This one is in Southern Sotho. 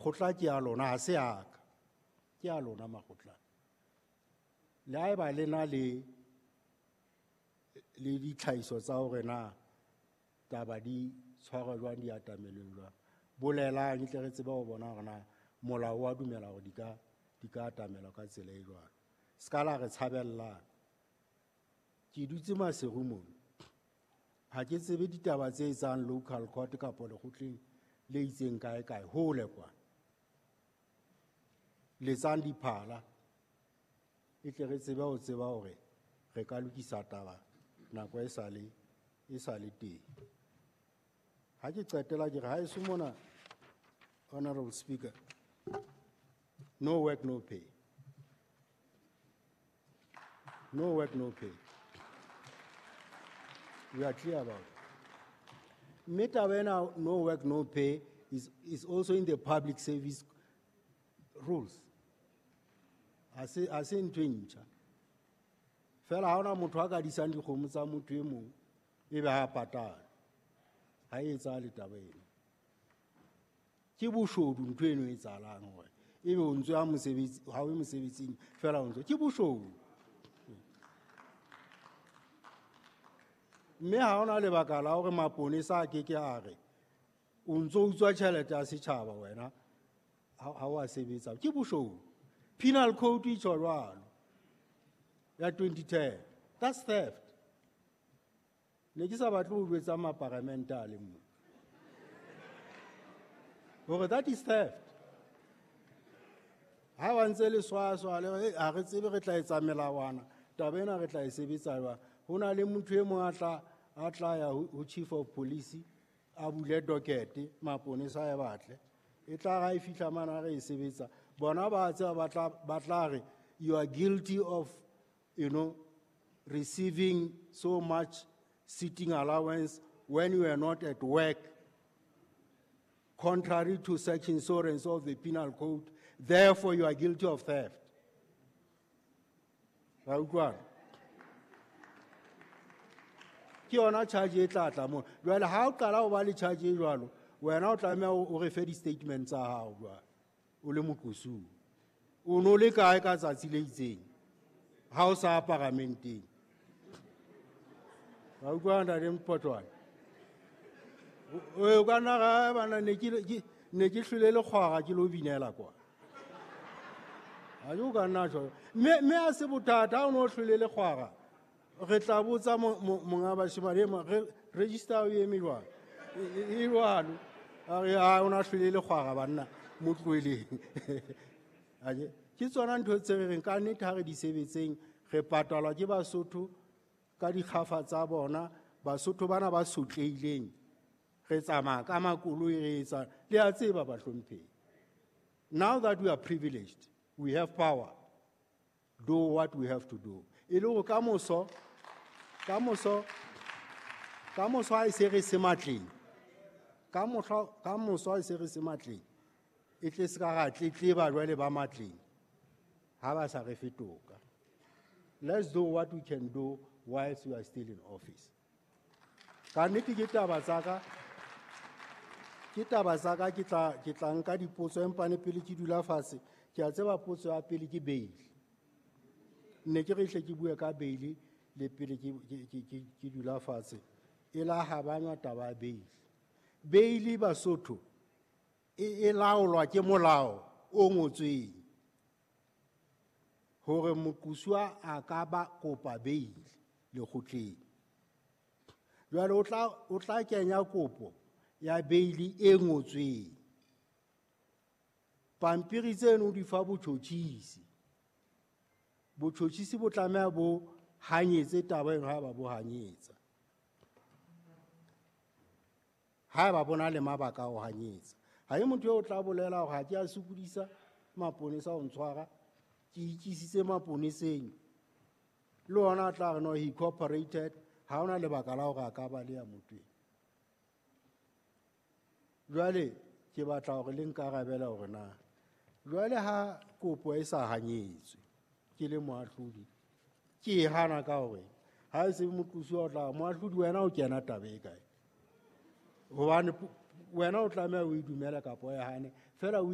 Kgotla ke ya lona, ha se ya ka. Ke ya lona makgotla. Le haeba le na le ditlhahiso tsa hore na taba di tshwarwa jwang, di atamelwe jwang, bolelang tle re tsebe ho bona hore na molao wa dumela hore di ka atamelwa ka tsela e jwalo. Se ka la re tshabellang. Ke dutse Maseru mona. Ha ke tsebe ditaba tse etsang local court kapa lekgotleng le itseng kae kae, hole kwa. Letsang diphala e tle re tsebe ho tseba hore re ka lokisa taba nako e sa le teng. Ha ke qetela ke re haeso mona, Honorable Speaker, no work, no pay. No work, no pay. We are clear about it. Mme taba ena, no work, no pay is also in the public service rules. Ha se ntho e ntjha. Fela ha hona motho a ka disang dikgomo tsa motho e mong ebe ha patala. Ha e etsahale taba eno. Ke boshodu ntho eno e etsahalang hore ebe o ntso ya mosebetsi, ha o ye mosebetsing fela o ntso, ke boshodu. Mme ha hona lebaka la hore maponesa a keke a re o ntso utswa tjhelete ya setjhaba wena ha o a sebetsa, ke boshodu. Penal Code e tjho jwalo ya 2010, that's theft. Ne ke sa batle ho jwetsa maparamente a le mong hore that is theft. Ha ba ntse le swaswa le ha re tsebe re tla etsa melawana, taba ena re tla e sebetsa jwang. Ho na le motho e mong a tla ya ho chief of police a bule docket, maponesa a e batle. E tla ha e fihla mane re e sebetsa, bona ba tseba ba tla re you are guilty of, you know, receiving so much sitting allowance when you are not at work, contrary to section so and so of the penal code, therefore you are guilty of theft. Ra utlwana? Ke yona charge e tla tla mo. Jwale ha o qala ho ba le charge e jwalo, wena o tlameha o re fe di-statement tsa hao jwale, o le moqosuwa. O no le kae ka tsatsi le itseng ha o sa paramenteng? Ra utlwana, ntate Mpotlwane? O ka nna ra bana ne ke hlwele lekgwara ke lo binela kwa. Ha o ka nna tjho. Mme ha se bothata ha o no hlwele lekgwara. Re tla botsa monga bashemane re register o eme jwang? E jwalo. A re ha o na hlwele lekgwara banna mo tlohelleng. Aje ke tsona ntho tse re reng ka nnete ha re di sebetseng, re patalwa ke Basotho ka dikgafa tsa bona, Basotho bana ba sotlehileng. Re tsamaya ka makoloi re etsa, le a tseba bahlomphehi. Now that we are privileged, we have power, do what we have to do. E le hore ka moso ha e se re se matleng, ka moso ha e se re se matleng, e tle se ka ra tletleba jwale ba matleng ha ba sa re fetoka. Let's do what we can do whilst we are still in office. Ka nnete ke taba tsa ka, ke taba tsa ka, ke tla nka dipotso empa ne pele ke dula fatshe, ke a tseba potso ya pele ke bail. Ne ke re hle ke bue ka bail le pele ke dula fatshe. E la habanywa taba ya bail. Bail Basotho e laolwa ke molao o ngotsweng hore moqosuwa a ka ba kopa bail lekgotleng. Jwale o tla kenya kopo ya bail e ngotsweng. Pampiri tseno di fa botjhotjhisi. Botjhotjhisi bo tlameha bo hanyetse taba eno ha ba bo hanyetsa. Ha ba bona le mabaka a ho hanyetsa. Ha e motho eo tla bolela hore ha ke a sokodisa maponesa ho ntshwara, ke ikisitse maponeseng. Le ona a tla re no, he cooperated, ha hona lebaka la hore a ka baleha motho eo. Jwale ke batla hore le nkarabele hore na jwale ha kopo e sa hanyetswe ke le moahlodi, ke e hana ka hore ha e se moqosuwa o tla moahlodi wena o kena taba e kae? Hobane wena o tlameha o e dumele kapa o e hane, fela o